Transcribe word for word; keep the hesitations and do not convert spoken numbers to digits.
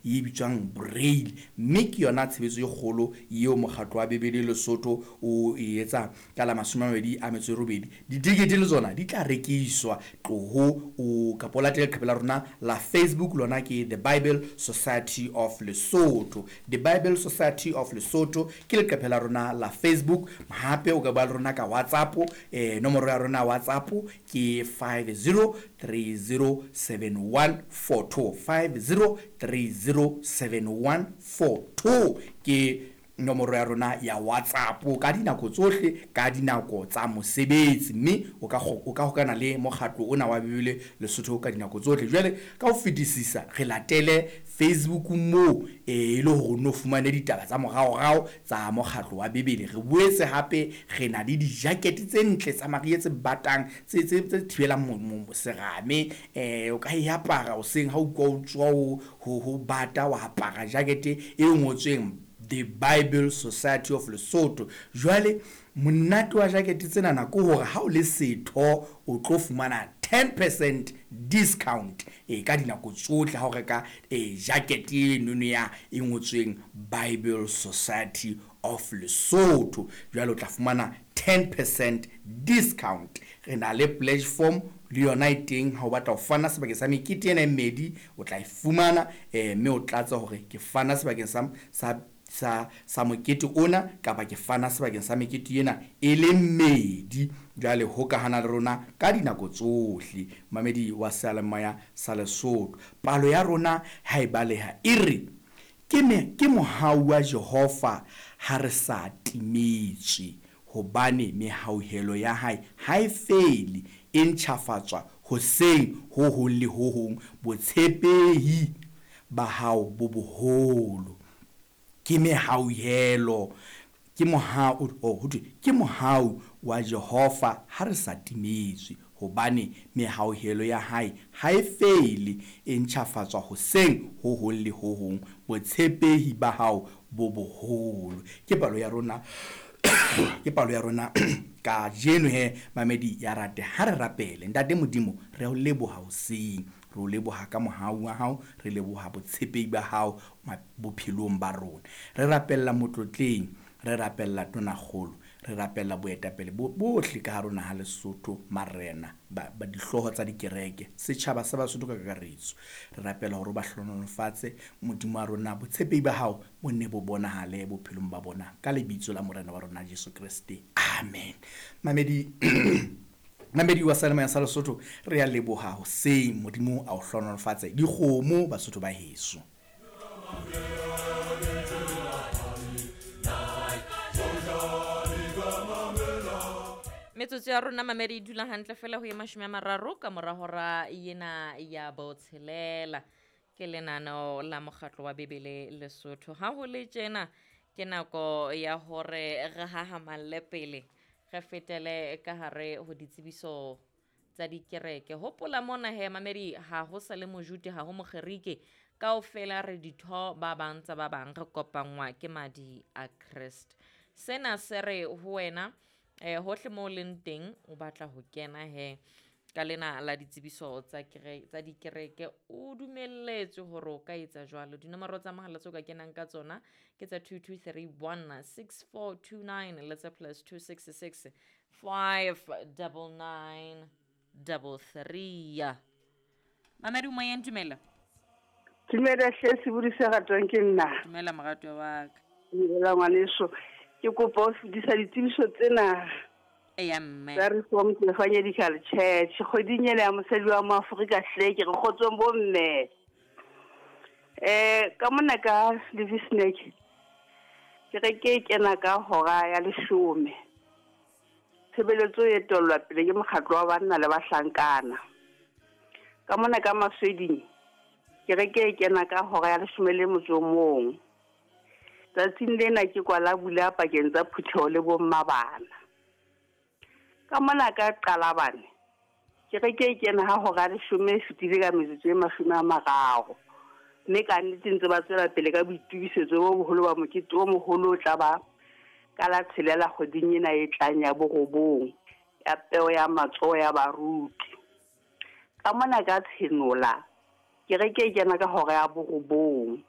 e bitswang braille. Mme ke yona tshebetso e kgolo eo mokgatlo wa Bibele Lesotho o e etsang ka la mashome a mabedi a metso e robedi. Ditekete le tsona di tla rekiswa. Tloho o kapa o latele leqephe la rona la Facebook, lona ke The Bible Society of Lesotho. The Bible Society of Lesotho ke leqephe la rona la Facebook. Hape o ka bua le rona ka WhatsApp, eh nomoro ya rona ya WhatsApp ke five zero three zero seven one four two, five zero three zero seven one four two ke nomoro ya rona ya WhatsApp ka dinako tsohle, ka dinako tsa mosebetsi, mme o ka o ka hokana le mokgatlo ona wa Bibele Lesotho ka dinako tsohle. Jwale ka ho fetisisa re latele Facebook moo e le hore o no fumane ditaba tsa moraorao tsa mokgatlo wa Bibele. Re boetse hape re na le di-jacket tse ntle tsa mariha tse batang, tse tse tse thibelang serame. Eh o ka e apara hoseng ha o utlwa o tswa ho ho bata, wa apara jacket e ngotsweng The Bible Society of Lesotho. Jwale monate wa jacket tsenana ke hore ha o le setho o tlo fumana ten percent discount e ka dinako tsohle ha o reka e jacket enono ya e ngotsweng Bible Society of Lesotho. Jwale o tla fumana ten percent discount. Re na le pledge form le yona e teng ha o batla ho fana sebakeng sa mekete ena e mmedi, o tla e fumana eh mme o tlatse hore ke fana sebakeng sa sa sa sa mokete ona kapa ke fana sebakeng sa mekete ena e le mmedi. Jwale hokahana le rona ka dinako tsohle, mamedi wa seyalemoya sa Lesotho. Palo ya rona ha e baleha e re ke me ke mohau wa Jehova ha re sa timetswe, hobane mehauhelo ya hae ha e fele, e ntjhafatswa hoseng ho hong le ho hong, botshepehi ba hao bo boholo. Ke mehauhelo, ke mohau, oh, ho thwe ke mohau wa Jehova ha re sa timetswe, hobane mehauhelo ya hae ha e fele, e ntjhafatswa hoseng ho hong le ho hong, botshepehi ba hao bo boholo. Ke palo ya rona ke palo ya rona kajeno he mamedi ya rate ha re rapele. Ntate Modimo, re o leboha hoseng, re o leboha ka mohau wa hao, re leboha botshepehi ba hao bophelong ba rona. Re rapella motlotleng, re rapella tonakgolo, re rapella boetapele bo bohle ka hare ho naha Lesotho, marena, ba ba dihlooho tsa dikereke, setjhaba sa Basotho ka kakaretso. Re rapela hore o ba hlohonolofatse, Modimo wa rona, botshepehi ba hao bo nne bo bonahale bophelong ba bona, ka lebitso la Morena wa rona Jesu Kreste, amen. Mamedi mamedi wa seyalemoya sa Lesotho, re a leboha hoseng, Modimo a o hlohonolofatse. Dikgomo Basotho ba heso. Metsotso ya rona mamedi e dula hantle fela ho ye mashome a mararo ka mora hora ena ya botshelela. Ke lenaneo la mokgatlo wa Bibele Lesotho. Ha ho le tjena ke nako ya hore re hahamalle pele, re fetele ka hare ho ditsebiso tsa dikereke. Hopola mona he mamedi, ha ho sa le Mojude, ha ho Mokgerike, kaofela re ditho ba bang tsa ba bang, re kopanngwa ke madi a Kreste. Sena se re ho wena eh hohle moo leng teng o batla ho kena he ka lena la ditsebiso tsa kere tsa dikereke, o dumelletswe hore o ka etsa jwalo. Dinomoro tsa mohala tseo ka kenang ka tsona ke tsa two two three one six four two nine le tsa plus two six six five double nine double three. Mamedi o moyeng, dumela. Dumela hle, sebodi se ratwang ke nna. Dumela moratwa wa ka. Dumela ngwaneso. Ke kopa ho fetisa ditsebiso tsena. Eya mme. Tsa Reformed Evangelical Church. Kgweding ena ya mosadi wa Moafrika hle, ke re kgotsong bo mme. Eh ka mona ka Levisnek, kereke e kena ka hora ya leshome. Tshebeletso e etellwa pele ke mokgatlo wa banna le bahlankana. Ka mona ka Masweding, kereke e kena ka hora ya leshome le motso o mong. Tsatsing lena ke kwala bula pakeng tsa phutheho le bomma bana. Ka mona ka Qalabane, kereke e kena ha hora ya leshome e fetile ka metsotso e mashome a mararo. Mme ka nnete ntse ba tswela pele ka boitokisetso bo boholo ba mokete o moholo o tla ba ka la tshelela kgweding ena e tlang ya borobong, ya peo ya matsoho ya baruti. Ka mona ka Tshenola, kereke e kena ka hora ya borobong.